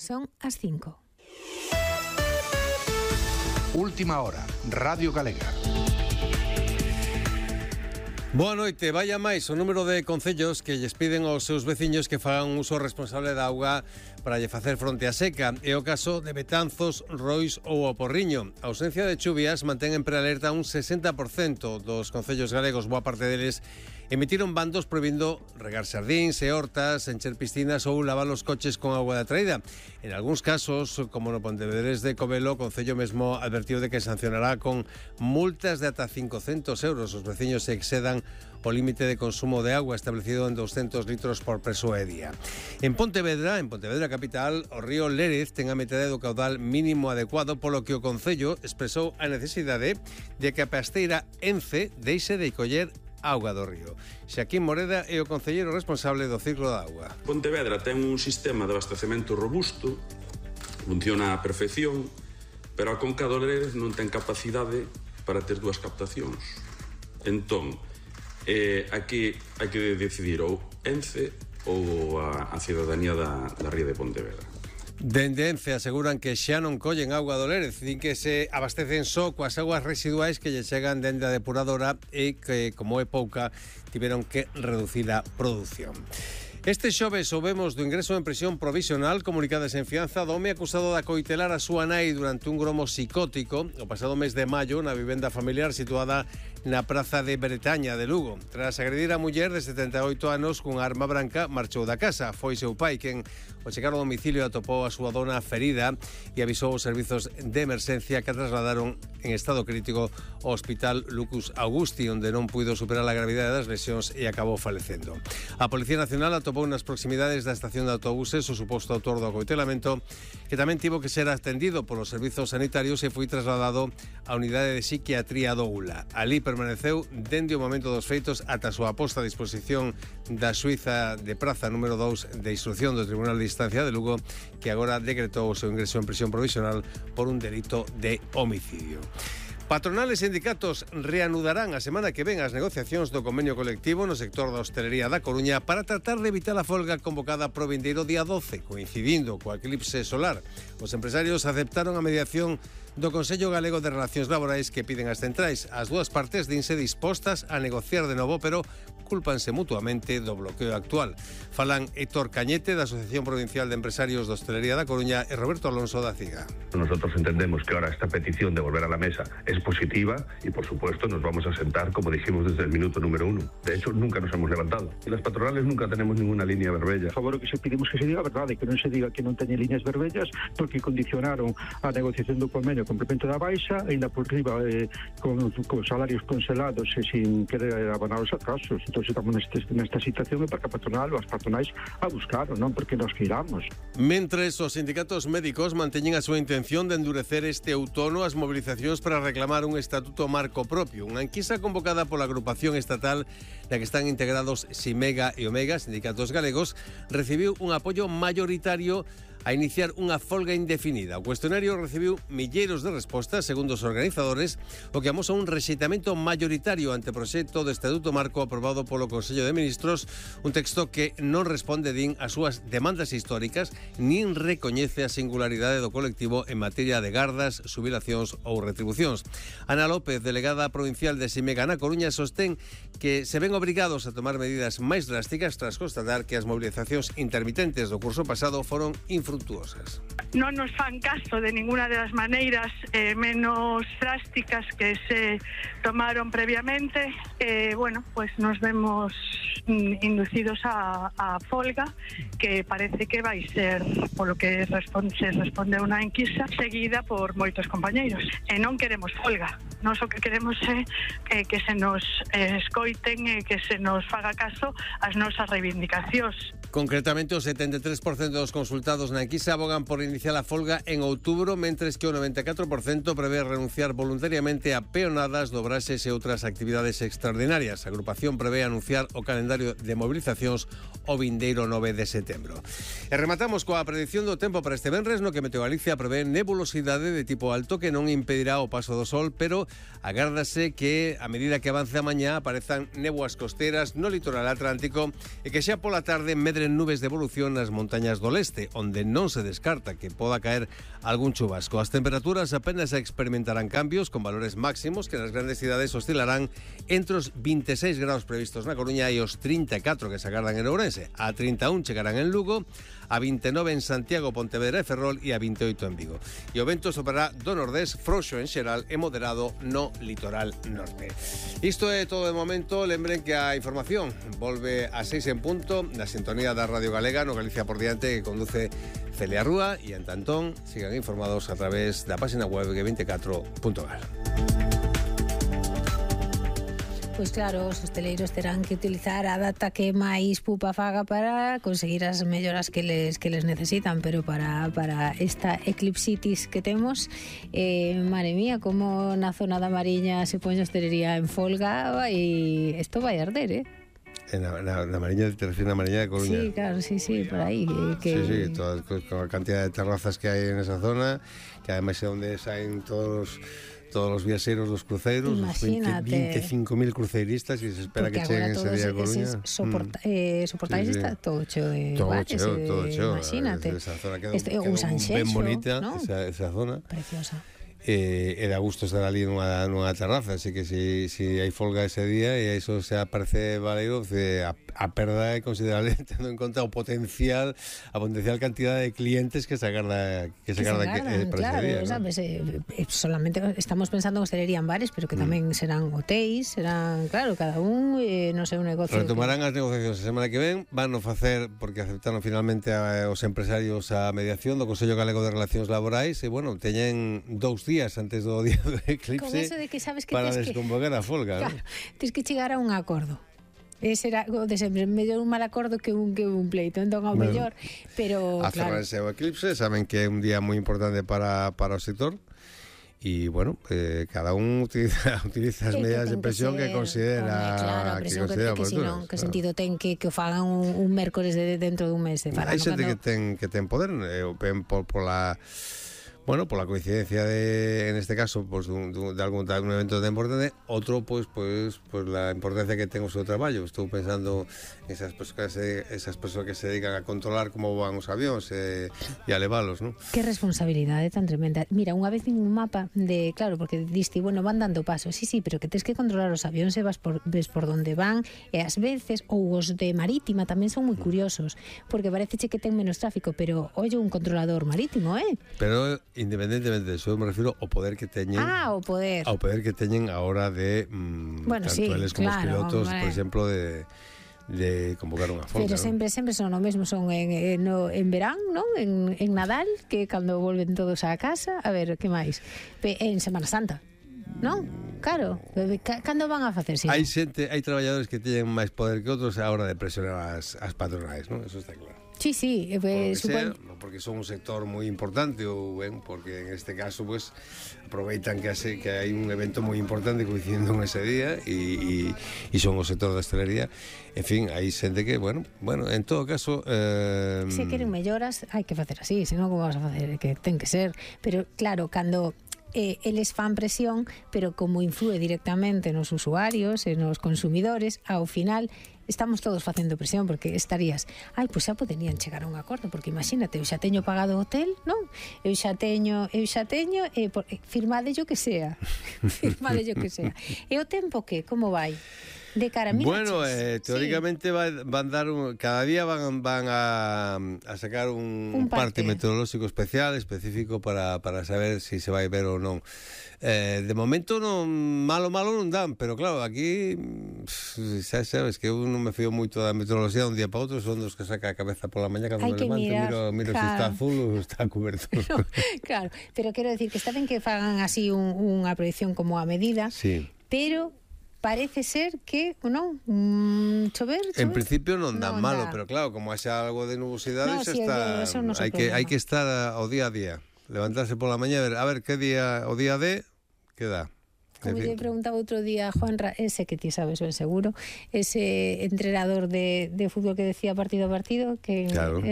Son as 5. Última hora, Radio Galega. Boa noite. Vai a máis o número de concellos que lles piden aos seus veciños que fagan un uso responsable da auga para lle facer fronte á seca. É o caso de Betanzos, Rois ou o Porriño. A ausencia de chuvias mantén en prealerta un 60% dos concellos galegos. Boa parte deles emitiron bandos prohibindo regar xardíns e hortas, encher piscinas ou lavar os coches con auga da traída. En algúns casos, como no Pontevedrés de Covelo, o Concello mesmo advertiu de que sancionará con multas de ata 500 euros os veciños se excedan o límite de consumo de agua establecido en 200 litros por persoa e día. En Pontevedra capital, o río Lérez ten a metade do caudal mínimo adecuado, polo que o Concello expresou a necesidade de que a pasteira Ence deixe de coller auga do río. Xaquín Moreda é o concelleiro responsable do ciclo da auga. Pontevedra ten un sistema de abastecemento robusto, funciona a perfección, pero a conca do Lérez non ten capacidade para ter dúas captacións. Entón, aquí hai que decidir ou Ence ou a cidadanía da ría de Pontevedra. Dende Ence aseguran que xa non collen auga do Lérez, din que se abastecen só coas aguas residuais que lle chegan dende a depuradora e que, como é pouca, tiveron que reducir a produción. Este xoves soubemos do ingreso en prisión provisional comunicadas en fianza do home acusado de acoitelar a súa nai durante un gromo psicótico o pasado mes de maio na vivenda familiar situada na praza de Bretaña de Lugo. Tras agredir a muller de 78 anos cunha arma branca, marchou da casa. Foi seu pai quen, ao chegar ao domicilio, atopou a súa dona ferida e avisou os servizos de emerxencia que a trasladaron en estado crítico ao Hospital Lucus Augusti, onde non puido superar a gravidade das lesións e acabou falecendo. A Policía Nacional atopou nas proximidades da estación de autobuses o suposto autor do acoitelamento, que tamén tivo que ser atendido polos servizos sanitarios e foi trasladado á unidade de psiquiatría do ULA. Ali permaneceu dende o momento dos feitos ata a súa posta a disposición da xuíza de praza número 2 de instrucción do Tribunal de Instancia de Lugo, que agora decretou o seu ingreso en prisión provisional por un delito de homicidio. Patronal e sindicatos reanudarán a semana que ven as negociacións do convenio colectivo no sector da hostelería da Coruña para tratar de evitar a folga convocada pro vindeiro día 12, coincidindo co eclipse solar. Os empresarios aceptaron a mediación do Consello Galego de Relacións Laborais que piden as centrais. As dúas partes dinse dispostas a negociar de novo, pero cúlpanse mutuamente do bloqueo actual. Falan Héctor Cañete, da Asociación Provincial de Empresarios de Hostelería da Coruña, e Roberto Alonso, da CIGA. Nosotros entendemos que ahora esta petición de volver a la mesa es positiva y, por supuesto, nos vamos a sentar, como dijimos desde el minuto número 1. De hecho, nunca nos hemos levantado. Y las patronales nunca tenemos ninguna línea verbella. Por favor, que se pedimos que se diga a verdade, que non se diga que non teñen líneas verbellas, porque condicionaron a negociación do convenio complemento da baixa, ainda por riba con salarios congelados e sin querer abonar os atrasos. Entón, estamos nesta situación para que a patronal ou as patronais a buscaron, non porque nos queiramos. Mentres, os sindicatos médicos manteñen a súa intención de endurecer este outono as mobilizacións para reclamar un estatuto marco propio. Unha enquisa convocada pola agrupación estatal na que están integrados Simega e Omega, sindicatos galegos, recibiu un apoio mayoritario a iniciar unha folga indefinida. O cuestionario recibiu milleiros de respostas, segundo os organizadores, o que amosa un rexeitamento mayoritario ante o proxecto de Estatuto Marco aprobado polo Consello de Ministros, un texto que non responde, din, as súas demandas históricas, nin recoñece a singularidade do colectivo en materia de gardas, xubilacións ou retribucións. Ana López, delegada provincial de Simega na Coruña, sostén que se ven obrigados a tomar medidas máis drásticas tras constatar que as movilizacións intermitentes do curso pasado foron infructuosas. Non nos fan caso de ninguna de las maneiras menos drásticas que se tomaron previamente. Bueno, pues nos vemos inducidos a folga, que parece que vai ser, polo que se responde a unha enquisa, seguida por moitos compañeiros. E non queremos folga. Nós o que queremos é que se nos escoiten e que se nos faga caso as nosas reivindicacións. Concretamente, o 73% dos consultados na enquisa abogan por iniciar a folga en outubro, mentres que o 94% prevé renunciar voluntariamente a peonadas, dobraxes e outras actividades extraordinarias. A agrupación prevé anunciar o calendario de movilizacións o vindeiro 9 de setembro. E rematamos coa predición do tempo para este venres, no que Meteo Galicia prevé nebulosidade de tipo alto que non impedirá o paso do sol, pero agárdase que a medida que avance a mañá aparezan néboas costeras no litoral atlántico e que xa pola tarde medren nubes de evolución nas montañas do leste, onde non se descarta que poda caer algún chubasco. As temperaturas apenas experimentarán cambios, con valores máximos que nas grandes cidades oscilarán entre os 26 graus previstos na Coruña e os 34 que se agardan en Ourense. A 31 chegarán en Lugo, a 29 en Santiago, Pontevedra e Ferrol e a 28 en Vigo. E o vento soprará do nordés, frouxo en xeral e moderado no litoral norte. Isto é todo de momento. Lembren que a información volve a 6 en punto na sintonía da Radio Galega no Galicia por diante, que conduce Celia Rúa, e en tantón sigan informados a través da página web g24.gal. Pois claro, os hosteleiros terán que utilizar a data que máis pupa faga para conseguir as melloras que les necesitan, pero para esta eclipsitis que temos, madre mía, como na zona da Mariña se pon a hostelería en folga e isto vai arder, Na Mariña, te refieres a Mariña de Coruña? Sí, claro, sí, por aí. Sí, con a cantidad de terrazas que hai en esa zona, que además é onde saen todos os viaxeiros dos cruceiros, os 25.000 cruceiristas, e se espera que cheguen ese día a Coruña. Soportáis está todo cheo de bares, todo cheo. Imagínate. Esa zona queda un Sanxenxo, ben bonita, ¿no? esa zona. Preciosa. E da gusto estar ali nunha terraza, así que si hai folga ese día e iso se aparece valeiro, a perda é considerable tendo en conta a potencial cantidad de clientes que se agarda para claro, ese día, ¿no? Sabes, solamente estamos pensando en hostelería en bares, pero que tamén serán hotéis, serán, claro, cada un non sei, un negocio. Retomarán as negociacións a semana que ven, van a facer, porque aceptaron finalmente os empresarios a mediación do Consello Galego de Relacións Laborais, e bueno, teñen 2 días antes do día do eclipse con eso de que sabes que para desconvocar a folga, claro, ¿no? Tens que chegar a un acordo. Ese era o de sempre, mellor un mal acordo que un pleito, entón ao mellor, pero a claro. cerrarse o eclipse, saben que é un día moi importante para o sector. E, bueno, cada un utiliza as medidas de presión que considera. Claro, a presión que senón, que sentido ten que o fagan un mércores dentro dun mes. Hai xente que ten poder, por la coincidencia en este caso, pues de algún evento tan importante, otro pues la importancia que ten o seu traballo. Estou pensando en esas persoas que se dedican a controlar como van os avións e a levalos, ¿no? Que responsabilidade tan tremenda. Mira, unha vez en un mapa de, claro, porque diste, bueno, van dando pasos, sí, pero que tens que controlar os avións e ves por donde van, e ás veces, ou os de marítima tamén son moi curiosos, porque pareceche que ten menos tráfico, pero oye, un controlador marítimo, Pero independentemente de eso, me refiero ao poder que teñen. Ao poder que teñen a hora de bueno, tanto eles como claro, os pilotos, hombre, por exemplo, de convocar unha folga. Pero sempre son o mesmo, son en verán, ¿no? En Nadal, que cando volven todos á casa, a ver, que máis? En Semana Santa, non? Claro, cando van a facer? Hai traballadores que teñen máis poder que outros a hora de presionar as patronais, ¿no? Eso está claro. Sí, porque son un sector moi importante ou porque en este caso pues aproveitan que hai un evento moi importante coincidindo en ese día e son o sector da hostelería. En fin, hai xente que, bueno, en todo caso se queren melloras, hai que facer así, senón como vas a facer, que ten que ser, pero claro, cando eles fan presión, pero como influe directamente nos usuarios e nos consumidores, ao final estamos todos facendo presión, porque estarías, pois xa poderían chegar a un acordo, porque imagínate, eu xa teño pagado o hotel, non? Eu xa teño, firmadelle o que sea. E o tempo que, como vai? De cara, mira, bueno, teóricamente van dar cada día van a sacar un parte meteorológico específico para saber si se vai ver ou non. De momento malo non dan, pero claro, aquí xa sabes que eu non me fío moito da meteoroloxía de un día para outro, son dos que saca a cabeza pola mañá cando me levanto, miro claro, se está azul ou está cuberto. Claro, pero quero decir que está ben que fagan así unha proyección como a medida, sí, pero parece ser que, non, chover. En principio non dan malo, pero claro, como haxa algo de nubosidade, hai que estar ao día a día, levantarse pola mañá a ver que día, o día D, que dá. como lle preguntaba outro día a Juanra, ese que ti sabes ben seguro, ese entrenador de fútbol que decía partido a partido, que claro.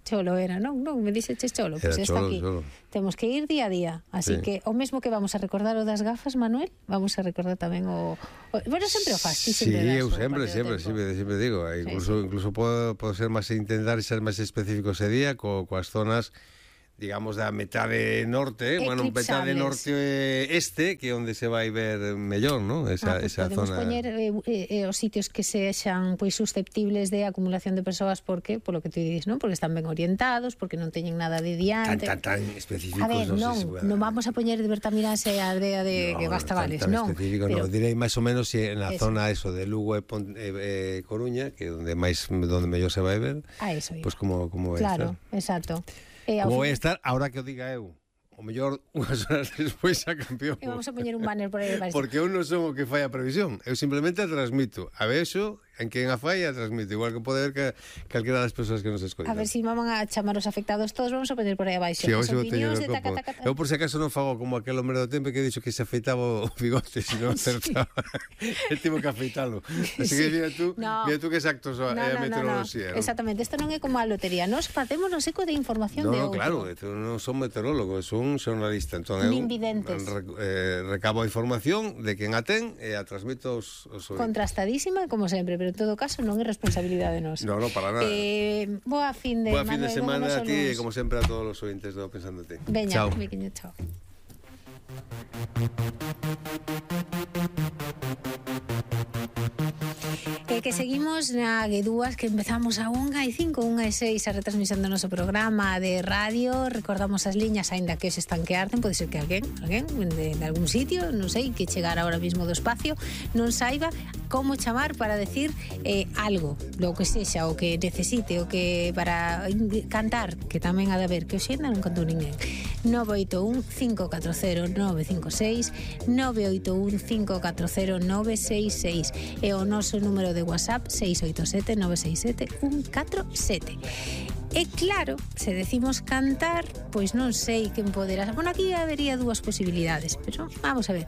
Cholo era, non, me dixeches Cholo, pois pues está aquí. Cholo. Temos que ir día a día, así que o mesmo que vamos a recordar o das gafas, Manuel, vamos a recordar tamén bueno, sempre o fas, ti sempre sí, das. sempre digo, incluso podo ser máis intentar ser máis específico ese día coas zonas, digamos, da metade norte, bueno, metade norte este, que é onde se vai ver mellor, ¿no? Esa podemos zona. Poñer os sitios que sexan pois susceptibles de acumulación de persoas, porque, polo que tú dices, ¿no? Porque están ben orientados, porque non teñen nada de diante. Tan específicos. A ver, non vamos a poñer de Bertamiráns e a aldea de que basta vales, non. Tan específico, pero direi máis ou menos en la zona eso de Lugo e Coruña, que onde mellor se vai ver. Eso. Pois como vai estar. Claro, exacto. Como vai estar, ahora que o diga eu, o mellor unhas horas despois a campeón. E vamos a poñer un banner por aí. Porque eu non son o que fai a previsión, eu simplemente a transmito. A vexo en quen a fai a transmito, igual que pode ver que calquera das persoas que nos escoitan. A ver si van a chamar os afectados todos, vamos a poñer por aí abaixo. Sí, as opinións de taca. Eu por si acaso non fago como aquel hombre do tempo que dixo que se afeitaba o bigote, se non acertaba. El tivo que afeitalo. Así que mira tú que exactos é a meteoroloxía. Exactamente, isto non é como a lotería, nos facemos no seco de información de outro. Claro, non son meteorólogos, son xornalista, entón eu recabo a información de quen a ten e a transmito aos contrastadísima, como sempre, pero en todo caso non é responsabilidade nosa. No, para nada. Boa fin de semana a ti e como sempre a todos os ointes do Pensando en Ti. Veña, miquiño, chao. Que seguimos na G2, que empezamos a 1:05, 1:06 a retransmisión do noso programa de radio. Recordamos as liñas, aínda que se están que arden, pode ser que alguén de algún sitio, non sei, que chegar ahora mismo do espacio non saiba como chamar para decir algo, lo que sexa, o que necesite, o que para cantar, que tamén ha de haber, que hoxenda non cantou ninguén. 981 540 956 981 540 966 e o noso número de WhatsApp 687 967 147. E claro, se decimos cantar, pois non sei quen poderá. Bueno, aquí habería dúas posibilidades, pero vamos a ver.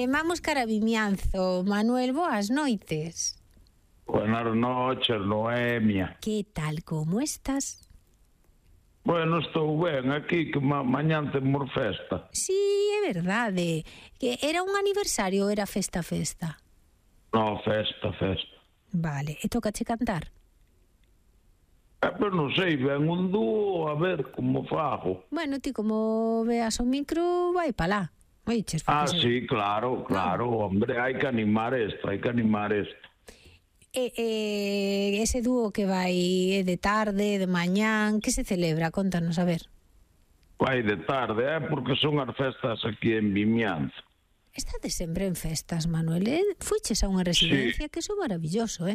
Vamos cara a Vimianzo. Manuel, boas noites. Buenas noches, Noemia. Que tal, como estás? Bueno, estou ben aquí, que mañán temos festa. Sí, é verdade. Que era un aniversario ou era festa? No, festa. Vale, e tócache cantar? Pero non sei, ven un dúo, a ver como fago. Bueno, ti como veas o micro, vai pa lá. Oiches, sí, claro, hombre, hai que animar isto. Ese dúo que vai de tarde, de mañán, que se celebra? Contanos, a ver. Vai de tarde, porque son as festas aquí en Vimianzo. Estades sempre en festas, Manuel. Fuiches a unha residencia, que iso é maravilloso,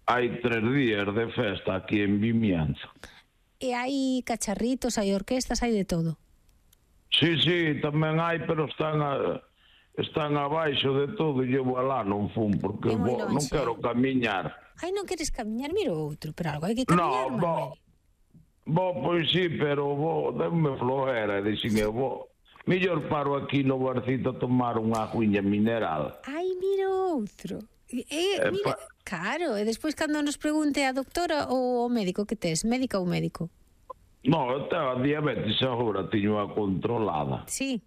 Hai 3 días de festa aquí en Vimianzo. E hai cacharritos, hai orquestas, hai de todo. Sí, tamén hai, pero están abaixo de todo e eu alá non fun, porque non quero camiñar. Ai, non queres camiñar? Mira outro, pero algo hai que camiñar, Manuel. Pois sí, pero dame flojera, dixime, mellor paro aquí no barcito a tomar unha aguiña mineral. Ai, mira outro. Mira, claro, e despois cando nos pregunte a doctora ou o médico que tes, médica ou médico? No, eu tenho a diabetes agora, tiño a controlada. Sí.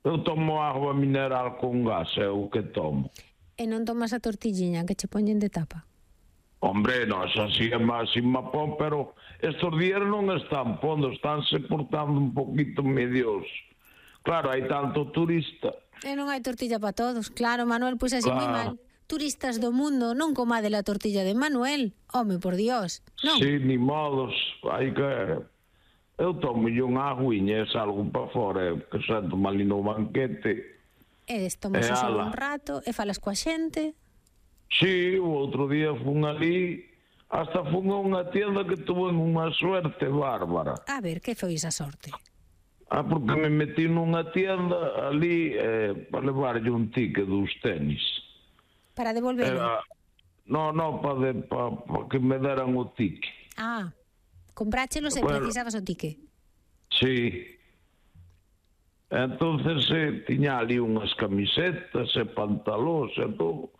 Eu tomo agua mineral con gas, é o que tomo. E non tomas a tortilliña que che poñen de tapa? Hombre, non, xa si é máis pon, pero estos días non están pondo, estánse portando un poquito medios. Claro, hai tanto turista. E non hai tortilla para todos. Claro, Manuel, pois así moi mal. Turistas do mundo, non comade la tortilla de Manuel. Home, por Dios. Non. Sí, ni modos, hai que... Eu tomo unha aguiña e salgo para fora, que sento ali no banquete. E tomas só un rato, e falas coa xente. Sí, o outro día fun ali, hasta fun a unha tienda que tuve unha suerte bárbara. A ver, que foi esa sorte? Porque me metí nunha tienda ali para levarlle un ticket dos tenis. Para devolverlo? Para que me deran o ticket. Compráchelos e precisabas o ticket. Sí. Entonces tiña ali unhas camisetas e pantalóns e todo.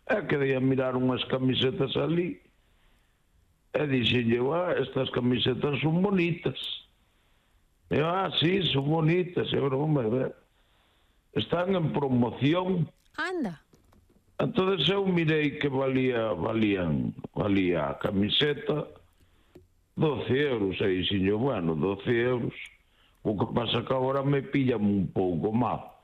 E quedei a mirar unhas camisetas ali. E dixenlle, estas camisetas son bonitas. E sí, son bonitas. E broma, están en promoción. Anda. Entonces eu mirei que valía a camiseta 12 euros. E dixenlle, bueno, 12 euros. O que pasa que agora me pillan un pouco mal.